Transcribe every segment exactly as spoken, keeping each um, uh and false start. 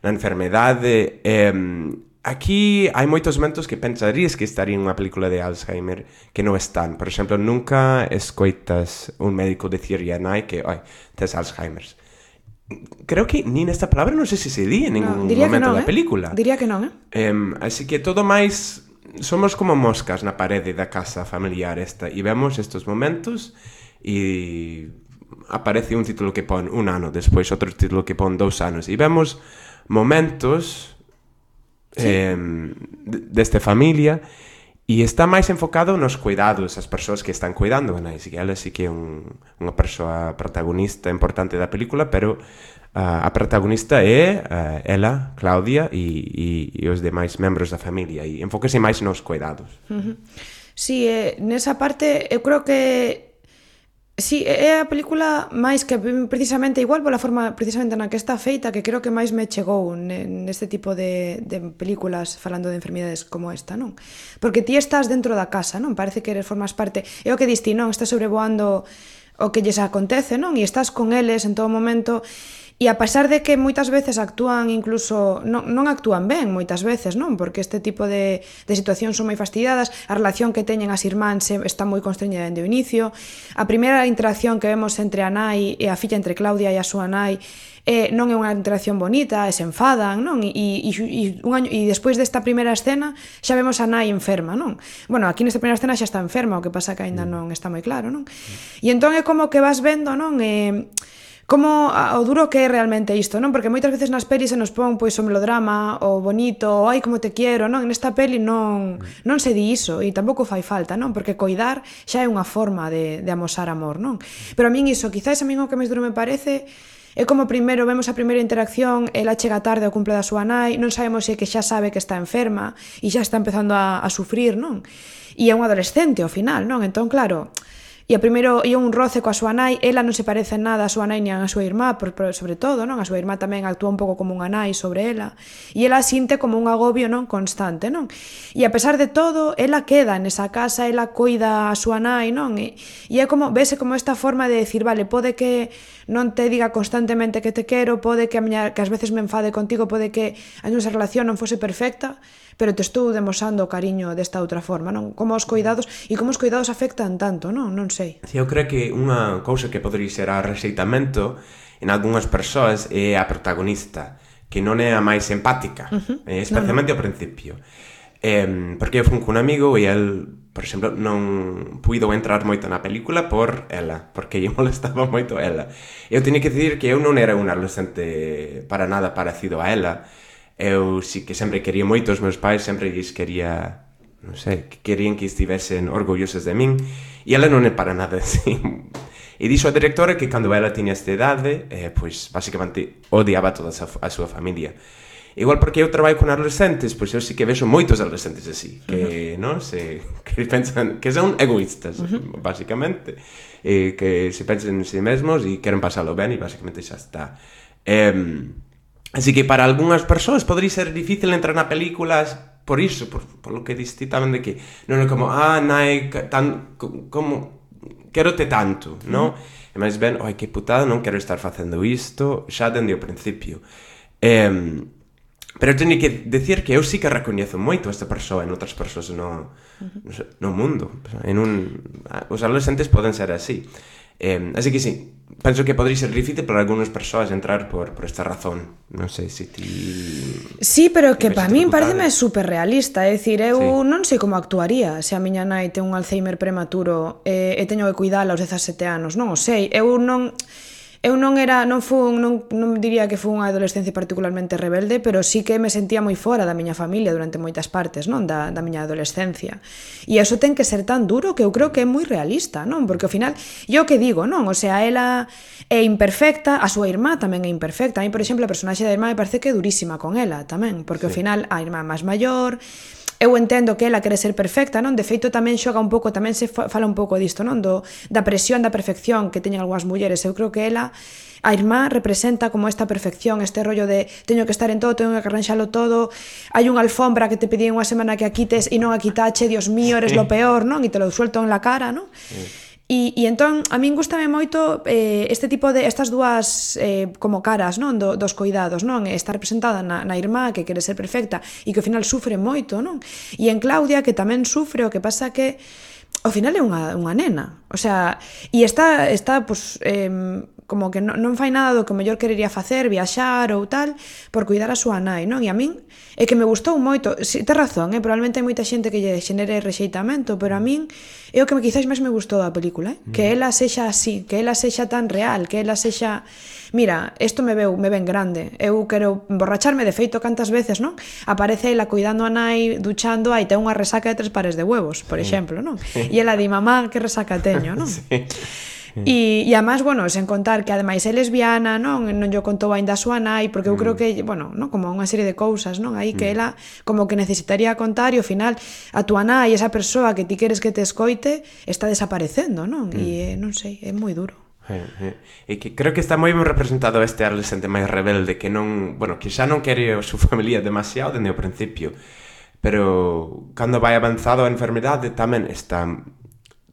na enfermedade. Eh, aquí hai moitos momentos que pensarías que estaría en unha película de Alzheimer que non están. Por exemplo, nunca escoitas un médico dicirlle a nai que oi, tes Alzheimer. Creo que ni nesta palabra non sei se se di en ningún no, momento non, da eh? película. Diría que non, eh? Um, así que todo máis somos como moscas na parede da casa familiar esta e vemos estes momentos e aparece un título que pon un ano, despois outro título que pon dous anos e vemos momentos sí. eh, desta familia e está máis enfocado nos cuidados, as persoas que están cuidando a nai, que ela sí que é un, unha persoa protagonista importante da película, pero uh, a protagonista é uh, ela, Claudia e, e, e os demais membros da familia e enfóquese máis nos cuidados. Uh-huh. Sí, eh, nesa parte eu creo que sí, é a película máis que precisamente igual pola forma precisamente na que está feita que creo que máis me chegou neste tipo de, de películas falando de enfermidades como esta, non? Porque ti estás dentro da casa, non? Parece que eres formas parte, é o que diste, non? Estás sobrevoando o que lles acontece, non? E estás con eles en todo momento. E a pesar de que moitas veces actúan incluso, non, non actúan ben moitas veces, non? Porque este tipo de, de situacións son moi fastidiadas, a relación que teñen as irmáns está moi constreñida dende o inicio, a primeira interacción que vemos entre a nai e a filla, entre Claudia e a súa nai, eh, non é unha interacción bonita, se enfadan, non? E, e, e, un año, e despois desta primeira escena xa vemos a nai enferma, non? Bueno, aquí nesta primeira escena xa está enferma, o que pasa que aínda non está moi claro, non? E entón é como que vas vendo, non? Eh, como o duro que é realmente isto, non? Porque moitas veces nas pelis se nos pon pois o melodrama, o bonito, o ai como te quiero, non? Nesta peli non non se di iso e tampouco fai falta, non? Porque coidar xa é unha forma de, de amosar amor, non? Pero a min iso, quizás a min o que máis duro me parece é como primeiro vemos a primeira interacción, ela chega tarde ao cumple da súa nai, non sabemos se que xa sabe que está enferma e xa está empezando a, a sufrir, non? E é un adolescente ao final, non? Entón, claro, e a primeiro ia un roce coa súa nai, ela non se parece en nada a súa nai nin a súa irmá, por, por, sobre todo, non? A súa irmá tamén actúa un pouco como unha nai sobre ela, e ela sinte como un agobio, non? Constante, non? E a pesar de todo, ela queda nesa casa, ela coida a súa nai, non? E, e é como, vese como esta forma de decir, vale, pode que non te diga constantemente que te quero, pode que a miña, que ás veces me enfade contigo, pode que a nosa relación non fose perfecta, pero te estou demosando o cariño desta outra forma, non? Como os cuidados, e como os cuidados afectan tanto, non? Non sei. Sí, eu creo que unha cousa que podría ser a rexeitamento en algunhas persoas é a protagonista, que non é a máis empática, uh-huh. eh, especialmente no, no. ao principio. Eh, porque eu fui con un amigo e el, por exemplo, non puido entrar moito na película por ela, porque lle molestaba moito ela. Eu teño que dicir que eu non era un adolescente para nada parecido a ela. Eu sí que sempre quería moito os meus pais, sempre lles quería, non sei, que querían que estivesen orgullosos de min, e ela non é para nada así. E dixo a directora que cando ela tiña esta idade, eh, pois, basicamente, odiaba toda a súa familia. Igual porque eu traballo con adolescentes, pois eu sí que vexo moitos adolescentes así, que, uh-huh. non, se, que pensan, que son egoístas, uh-huh. basicamente, e que se pensan en si mesmos e queren pasalo ben e basicamente xa está. Eh, Así que para algunhas persoas podría ser difícil entrar na películas por iso, por, por lo que diste tamén de que non é como, ah, nai, tan, como, quero te tanto, non? Uh-huh. E máis ben, oi, que putada, non quero estar facendo isto, xa dende o principio. Eh, pero teño que decir que eu sí que recoñezo moito esta persoa en outras persoas no, uh-huh. no mundo. En un, os adolescentes poden ser así. Eh, así que sí, penso que podría ser difícil para algunhas persoas entrar por, por esta razón. Non sei se ti... Sí, pero que para min pareceme super realista. É dicir, eu sí. non sei como actuaría se a miña nai ten un Alzheimer prematuro e, e teño que cuidala aos dezasete anos. Non o sei, eu non... Eu non era, non fun, non, non diría que fun unha adolescencia particularmente rebelde, pero sí que me sentía moi fora da miña familia durante moitas partes, non, da, da miña adolescencia. E iso ten que ser tan duro que eu creo que é moi realista, non? Porque ao final, yo que digo, non? O sea, ela é imperfecta, a súa irmá tamén é imperfecta. A mí, por exemplo, a personaxe da irmá me parece que é durísima con ela tamén, porque sí. ao final a irmá máis maior... Eu entendo que ela quere ser perfecta, non? De feito tamén xoga un pouco, tamén se fala un pouco disto, non? Do, da presión da perfección que teñen algunhas mulleres. Eu creo que ela, a irmá, representa como esta perfección, este rollo de teño que estar en todo, teño que arranxalo todo, hai unha alfombra que te pedí unha semana que a quites e non a quitache, Dios mío, eres lo peor, non? E te lo suelto en la cara, non? Sí. E, e entón, a min gustame moito eh, este tipo de, estas dúas eh, como caras, non, Do, dos coidados, non? Está representada na, na irmá que quere ser perfecta e que ao final sufre moito, non? E en Claudia que tamén sufre, o que pasa que ao final é unha, unha nena, o sea, e está, está pues, eh, como que non, non fai nada do que o mellor querería facer, viaxar ou tal, por cuidar a súa nai, non? E a min é que me gustou moito, si, te razón, eh? Probablemente hai moita xente que lle xenere rexeitamento, pero a min é o que me quizás máis me gustou da película, eh? Mm. Que ela sexa así, que ela sexa tan real, que ela sexa... Mira, isto me veu, me ven grande, eu quero emborracharme, de feito cantas veces, non? Aparece ela cuidando a nai, duchando, aí ten unha resaca de tres pares de huevos, por sí. exemplo, non? Sí. E ela di, mamá, que resaca teño, non? Sí. E, e además, bueno, sen contar que ademais é lesbiana, non? Non yo contou aínda a súa nai, porque eu mm. creo que, bueno, non? Como unha serie de cousas, non? Aí que mm. ela como que necesitaría contar e ao final a túa nai, esa persoa que ti queres que te escoite, está desaparecendo, non? Mm. E non sei, é moi duro. Eh, eh. E que creo que está moi ben representado este adolescente máis rebelde que non, bueno, que xa non quere a súa familia demasiado dende o principio, pero cando vai avanzado a enfermidade tamén está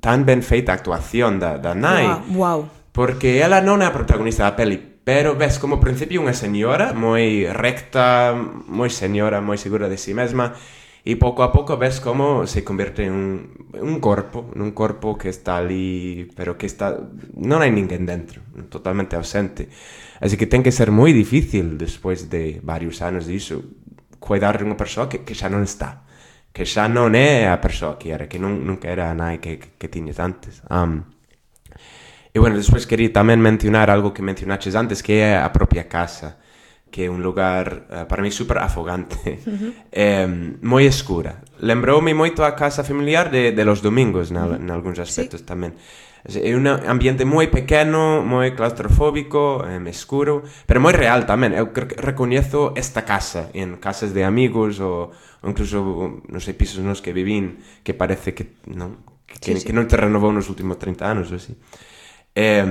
tan ben feita a actuación da, da nai. Wow, wow. Porque ela non é a protagonista da peli, pero ves como ao principio unha señora moi recta, moi señora, moi segura de si mesma, e pouco a pouco ves como se convierte en un, un corpo, nun corpo que está ali, pero que está... non hai ninguén dentro, totalmente ausente. Así que ten que ser moi difícil, despois de varios anos disso, cuidar de unha persoa que, que xa non está. Que xa non é a persoa que era, que non, nunca era a nai que, que, que tiñes antes. Um, e, bueno, despois quería tamén mencionar algo que mencionaches antes, que é a propia casa, que é un lugar, uh, para mí, super afogante, uh-huh. eh, moi escura. Lembroume moito a casa familiar de, de los domingos, na, uh-huh. en algúns aspectos sí. tamén. É un ambiente moi pequeno, moi claustrofóbico, eh, escuro, pero moi real tamén. Eu recoñezo esta casa en casas de amigos ou, ou incluso, non sei, pisos nos que vivín que parece que non, que, sí, sí. que non te renovou nos últimos trinta anos ou así. Eh,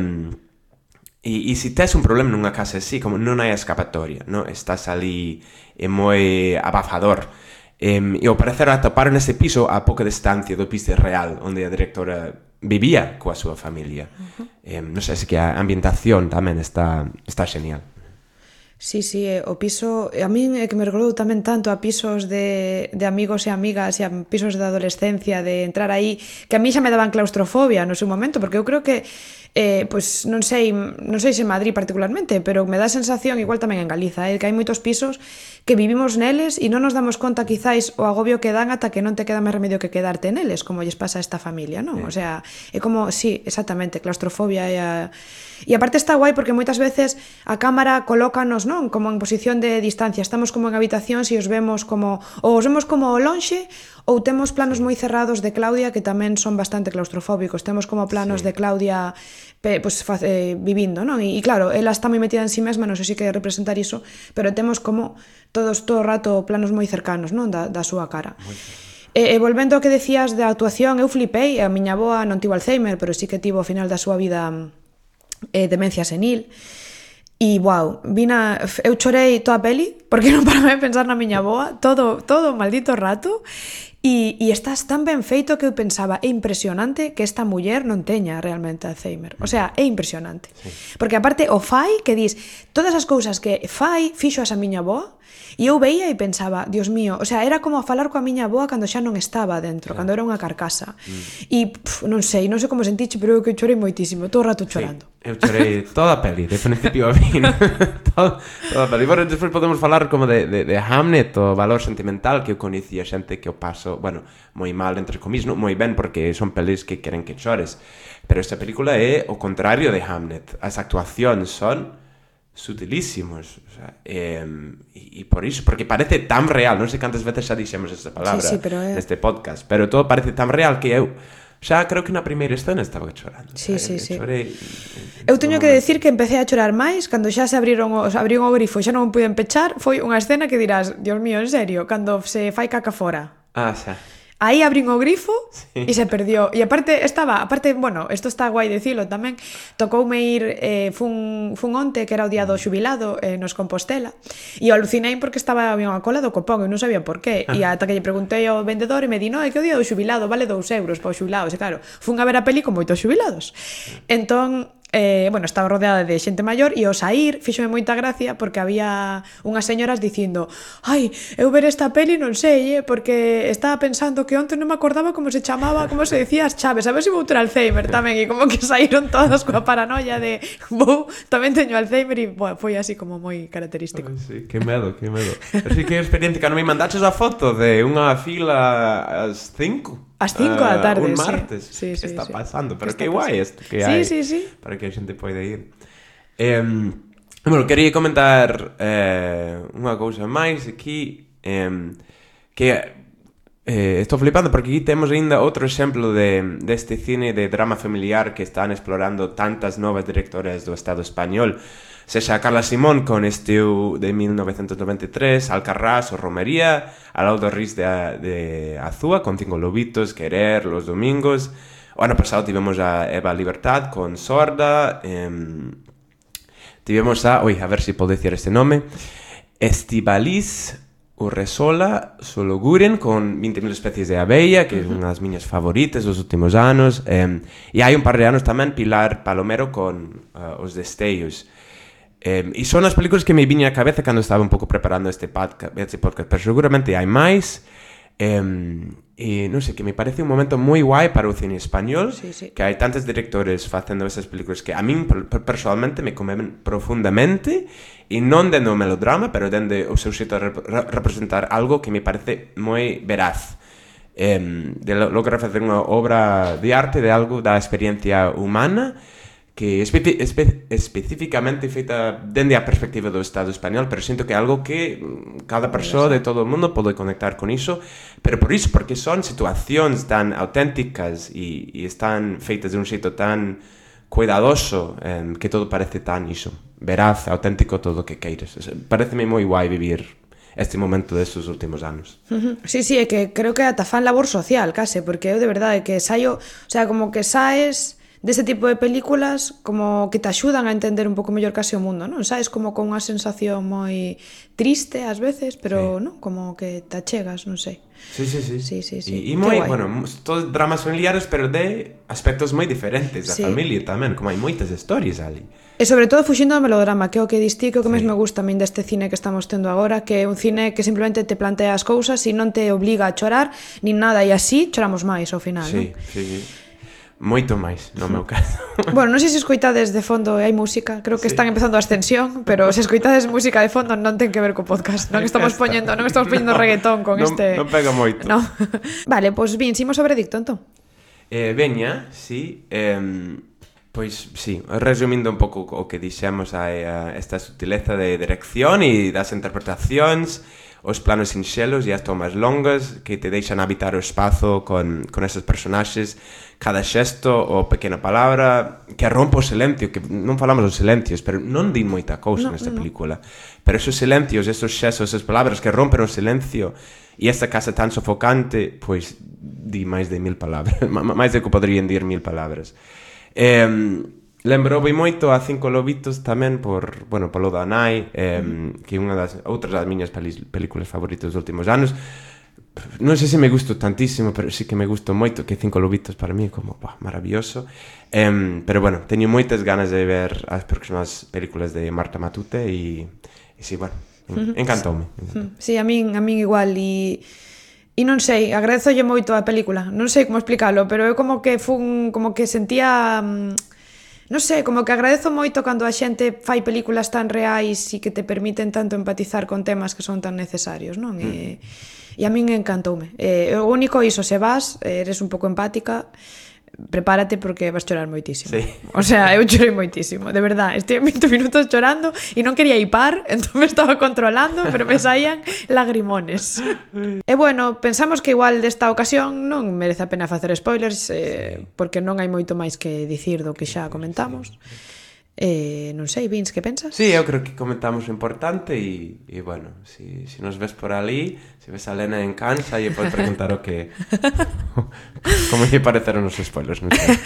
e, e se tes un problema nunha casa así, como non hai escapatoria, non? Estás ali é moi abafador. Eh, e ao parecer atoparon ese piso a pouca distancia do piso real onde a directora vivía coa súa familia. Uh-huh. Eh, non sei se que a ambientación tamén está, está genial. Sí, sí, o piso, a min é que me recordou tamén tanto a pisos de, de amigos e amigas e a pisos de adolescencia, de entrar aí, que a mí xa me daban claustrofobia no seu momento, porque eu creo que eh, pues, non sei non sei se en Madrid particularmente, pero me dá a sensación, igual tamén en Galiza, eh, que hai moitos pisos que vivimos neles e non nos damos conta quizáis o agobio que dan ata que non te queda máis remedio que quedarte neles, como lles pasa a esta familia, non? Sí. O sea, é como, sí, exactamente, claustrofobia e a... E aparte está guai porque moitas veces a cámara colócanos, non? Como en posición de distancia, estamos como en habitacións e os vemos como, ou os vemos como lonxe, ou temos planos moi cerrados de Claudia que tamén son bastante claustrofóbicos, temos como planos sí. de Claudia pues, eh, vivindo, non? E, e claro, ela está moi metida en si mesma, non sei se quere representar iso, pero temos como todos todo o rato planos moi cercanos, non? Da, da súa cara. E, e volvendo ao que decías da actuación, eu flipei, a miña avoa non tivo Alzheimer, pero sí que tivo ao final da súa vida eh, demencia senil. E, wow, vina, eu chorei toda a peli, porque non paraba de pensar na miña avoa, todo, todo o maldito rato, e, e estás tan ben feito que eu pensaba, é impresionante que esta muller non teña realmente Alzheimer. O sea, é impresionante. Sí. Porque aparte o fai, que dis, todas as cousas que fai, fixo a miña avoa, e eu veía e pensaba, Dios mío, o sea, era como a falar coa miña avoa cando xa non estaba dentro, claro. Cando era unha carcasa. Mm. E, pf, non sei, non sei como sentiche, pero eu que chorei moitísimo, todo o rato chorando. Sí, eu chorei toda a peli, de principio a fin. toda, toda a peli. Bueno, despois podemos falar como de, de, de Hamnet, o valor sentimental, que eu coñecía xente que o paso, bueno, moi mal, entre comillas, non moi ben, porque son pelis que queren que chores. Pero esta película é o contrario de Hamnet. As actuacións son sutilísimos, o sea, eh, e, e por iso, porque parece tan real, non sei cantas veces xa dixemos esta palabra sí, sí, pero é... neste podcast, pero todo parece tan real que eu xa creo que na primeira escena estaba chorando. Sí, sí, sí. Chorei, eu teño que decir que empecé a chorar máis cando xa se abriron os, abriron o grifo e xa non puiden pechar, foi unha escena que dirás, Dios mío, en serio, cando se fai caca fora. Ah, xa. aí abrín o grifo sí. e se perdió. E aparte, estaba, aparte, bueno, isto está guai dicilo tamén, tocoume ir, eh, fun, fun onte, que era o día do xubilado, eh, nos Compostela, e alucinei porque estaba a unha cola do copón e non sabía por qué. E ata que lle preguntei ao vendedor e me di, no, é que o día do xubilado vale dous euros para os xubilados. E claro, fun a ver a peli con moitos xubilados. Entón, Eh, bueno, estaba rodeada de xente maior e ao saír fíxome moita gracia porque había unhas señoras dicindo ai, eu ver esta peli non sei, eh, porque estaba pensando que onte non me acordaba como se chamaba, como se decía as chaves, a ver se vou ter Alzheimer tamén, e como que saíron todas coa paranoia de vou, tamén teño Alzheimer e bueno, foi así como moi característico. Ai, sí, que medo, que medo. Así que experiencia que non me mandaches a foto de unha fila ás cinco. As cinco da tarde, uh, un martes, sí. Sí, sí, que está sí. pasando, pero que que guai isto que sí, hai sí, sí. para que a xente poida ir. Eh, bueno, quería comentar eh, unha cousa máis aquí, eh, que eh, estou flipando porque aquí temos ainda outro exemplo de deste cine de drama familiar que están explorando tantas novas directoras do Estado español. Sexa Carla Simón con Estiu de mil novecientos noventa e tres, Alcarrás o Romería, Alaudo Riz de, de Azúa con Cinco Lobitos, Querer, Los Domingos. O ano pasado tivemos a Eva Libertad con Sorda, eh, tivemos a, oi, a ver se si podo dicir este nome, Estivaliz Urresola Sologuren con vinte mil especies de abella, que é unha das miñas favoritas dos últimos anos, eh, e hai un par de anos tamén Pilar Palomero con uh, Os Destellos. Eh, e son as películas que me viña a cabeza cando estaba un pouco preparando este podcast, este podcast pero seguramente hai máis. Eh, e non sei, que me parece un momento moi guai para o cine español, sí, sí. que hai tantos directores facendo esas películas que a min personalmente me comen profundamente, e non dende o melodrama, pero dende o seu xeito de rep representar algo que me parece moi veraz. Eh, de lograr facer unha obra de arte de algo da experiencia humana que espe espe especificamente feita dende a perspectiva do Estado español, pero sinto que é algo que cada persoa de todo o mundo pode conectar con iso, pero por iso, porque son situacións tan auténticas e, e están feitas de un xeito tan cuidadoso, eh, que todo parece tan iso, veraz, auténtico, todo o que queires. Pareceme moi guai vivir este momento destes últimos anos. Uh -huh. Sí, sí, é que creo que ata fan labor social, case, porque eu de verdade que saio, o sea, como que saes deste tipo de películas como que te axudan a entender un pouco mellor case o mundo, non? Sabes, como con unha sensación moi triste ás veces, pero sí. non, como que te achegas, non sei. Sí, sí, sí. Sí, sí, sí. E moi, bueno, todos dramas familiares, pero de aspectos moi diferentes da sí. familia tamén, como hai moitas historias ali. E sobre todo fuxindo do melodrama, que é o que distí, que o que sí. máis me gusta a min deste cine que estamos tendo agora, que é un cine que simplemente te plantea as cousas e non te obliga a chorar, nin nada, e así choramos máis ao final, sí, non? Sí, sí. Moito máis, no meu caso. Bueno, non sei se escoitades de fondo, hai música, creo que sí. están empezando a ascensión, pero se escoitades música de fondo non ten que ver co podcast, non estamos poñendo, non estamos poñendo no, reggaetón con non, este... Non pega moito. No. Vale, pois pues, vin, ximos sobre dicto, entón. Eh, veña, sí, eh, pois sí, resumindo un pouco o que dixemos a, a esta sutileza de dirección e das interpretacións, os planos sinxelos e as tomas longas que te deixan habitar o espazo con, con esos personaxes, cada xesto ou pequena palabra que rompe o silencio, que non falamos dos silencios, pero non di moita cousa no, nesta no. película, pero esos silencios, esos xestos, esas palabras que rompen o silencio e esta casa tan sofocante, pois di máis de mil palabras, máis de que poderían dir mil palabras. Eh, Lembroume moito a Cinco Lobitos tamén por, bueno, polo da nai, eh, mm. que é unha das outras das miñas películas favoritas dos últimos anos. Non sei se me gusto tantísimo, pero sí que me gusto moito, que Cinco Lobitos para mí é como, bah, maravilloso. Eh, pero bueno, teño moitas ganas de ver as próximas películas de Marta Matute e, e sí, bueno, encantoume. Encantoume. Sí, a min, a min igual e... E non sei, agradezolle moito a película. Non sei como explicalo, pero eu como que fun, como que sentía... Non sei, como que agradezo moito cando a xente fai películas tan reais e que te permiten tanto empatizar con temas que son tan necesarios, non? Mm. E, e a min encantoume. E, o único iso, se vas, eres un pouco empática, prepárate porque vas chorar moitísimo. Sí. O sea, eu chorei moitísimo, de verdad. Estive vinte minutos chorando e non quería hipar, entón me estaba controlando, pero me saían lagrimones. E bueno, pensamos que igual desta ocasión non merece a pena facer spoilers, eh, porque non hai moito máis que dicir do que xa comentamos. Eh, non sei, Vince, que pensas? Sí, eu creo que comentamos o importante e, e bueno, si, si nos ves por ali, se ves a Lena en Cansa e podes preguntar o que como lle pareceron os spoilers, non sei.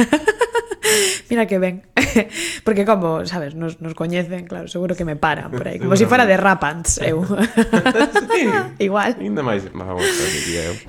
Mira que ben. Porque como, sabes, nos, nos coñecen, claro, seguro que me paran por aí, como se si fuera de Rapants, eu. Sí, Igual. ainda máis, vamos, diría eu.